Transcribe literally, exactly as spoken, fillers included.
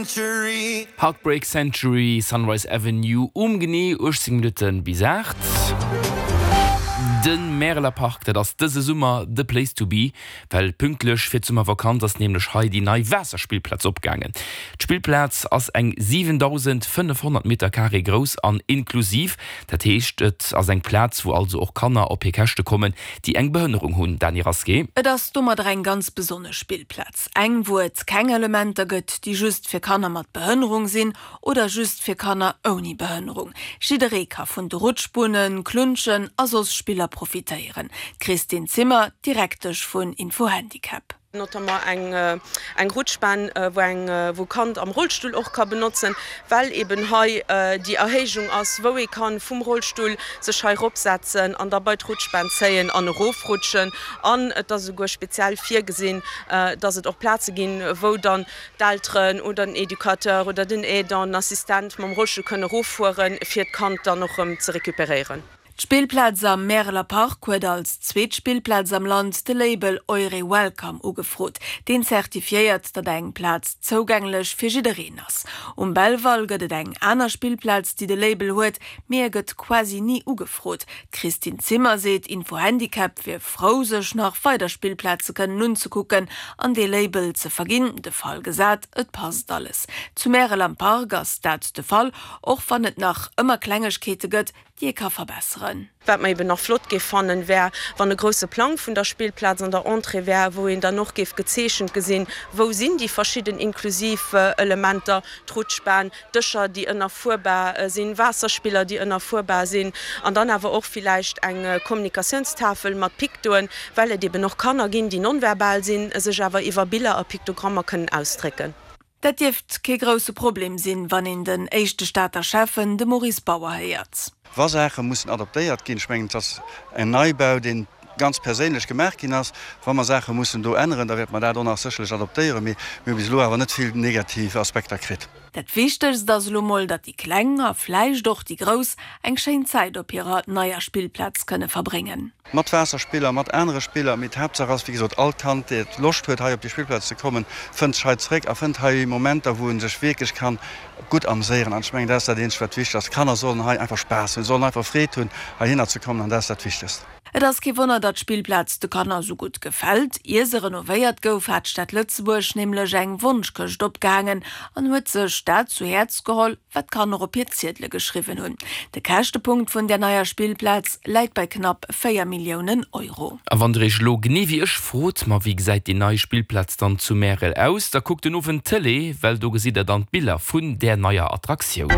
Century. Heartbreak Century, Sunrise Avenue, um genee uechtzéng Minutte bis aacht. De Märeler Park, dat ass dëse Summer the place to be, well pünktlech fir d'Summervakanz ass nämlech hei déi nei Waasserspillplaz opgaangen. D'Spillplaz ass eng siwendausendfënnefhonnert Meter Carré grouss an inklusiv, dat heescht et ass eng Plaz wou also och Kanner op hir Käschte kommen, déi eng Behënnerung hunn. Dany Rasqué. Et ass domadder eng ganz besonnesch Spillplaz, eng wou et keng Elementer gëtt, déi just fir Kanner mat Behënnerung sinn oder just fir Kanner ouni Behënnerung. Jidderee ka vun de Rutschbunnen, Klunschen a soss Spiller profitéieren. D'Christine Zimmer, Direktesch vun Info-Handicap. Notamment eng eng Rutschban, wou eng wou Kand am Rollstull och ka benotzen, well eben hei déi Erhéijung ass, wou ee kann vum Rollstull sech hei eropsetzen an da bei d'Rutschban zéien an erofrutschen. An et ass esouguer speziell virgesinn, dass et och Plaze ginn, wou dann d'Elteren oder den Educateur oder den Aidant, den Assistent mam Rollstull kënnen eroffueren, fir d'Kand dann och erëm ze recuperéieren. D'Spillplaz am Märeler Park huet als zweet Spillplaz am Land de Label Eure Welcome ugefrot, deen zertifiéiert, datt eng Plaz zougänglech fir jiddereen ass. Um Belval gëtt et eng aner Spillplaz, déi de Label huet, mee e gëtt quasi ni ugefrot. D'Christine Zimmer seet, Info Handicap wier frou, sech nach weider Spillplaze kënnen unzekucken an dee Label ze verginn, de Fall gesat, et passt alles. Zu Märel am Park ass dat de Fall, och wann et nach ëmmer Klengegkeete gëtt, déi ee ka verbesseren. Wat mer eben nach flott géif fannen, wär, wann e grousse Plang vun der Spillplaz an der Entrée wär, wou een dann och géif gezeechent gesinn, wou sinn déi verschidden inklusiv Elementer, d'Rutschbahn, Dëscher, déi ënnerfuerbar sinn, Waasserspiller, déi ënnerfuerbar sinn, an dann awer och villäicht eng Kommunikatiounstafel mat Piktoen, well et eben och Kanner ginn, déi nonverbal sinn, sech awer iwwer Biller a Piktogrammer kënnen ausdrécken. Dat dierft kee grousse Problem sinn, wann een den éischte Stater Schäffen, de Maurice Bauer, héiert. Wa Saache mussen adaptéiert ginn, ech mengen, et ass en Neibau, dee ganz perséinlech gemaach ginn ass, wa mer Saache mussen do änneren, da wäerte mer dat och nach sécherlech adaptéieren, mee mir hu bis elo awer net vill negativ Aspekter kritt. Dat Wichtegst ass elo mol, datt déi Kleng a vläicht och déi Grouss eng schéin Zäit op hirer neier Spillplaz kënne verbréngen. Mat Waasserspiller, mat anere Spiller, mee d'Haaptsaach ass, wéi gesot, all Kand, dat Loscht huet, hei op déi Spillplaz ze kommen, fënnt sech hei zeréck a fënnt hei Momenter, wou e sech wierklech ka gutt amséieren. An ech mengen, dat ass dat eenzegt, wat wichteg ass. D'Kanner sollen hei einfach Spaass hunn, sollen einfach Freed hunn, heihinner ze kommen, an dat ass dat Wichtegst. Et ass kee Wonner, datt d'Spillplaz de Kanner esou gutt gefält. Ier se renovéiert gouf, hat d'Stad Lëtzebuerg nämlech eng Wonschkëscht opgehaangen an huet sech dat zu Häerz geholl, wat d'Kanner op hir Ziedele geschriwwen hunn. De Käschtepunkt vun där neier Spillplaz läit bei knapp véier Milliounen Euro. A wann der iech elo genee wéi ech frot, ma wéi gesäit déi nei Spillplaz dann zu Märel aus, da kuckt den Owend d'Tëlee, well do gesitt der dann d'Biller vun där neier Attraktioun.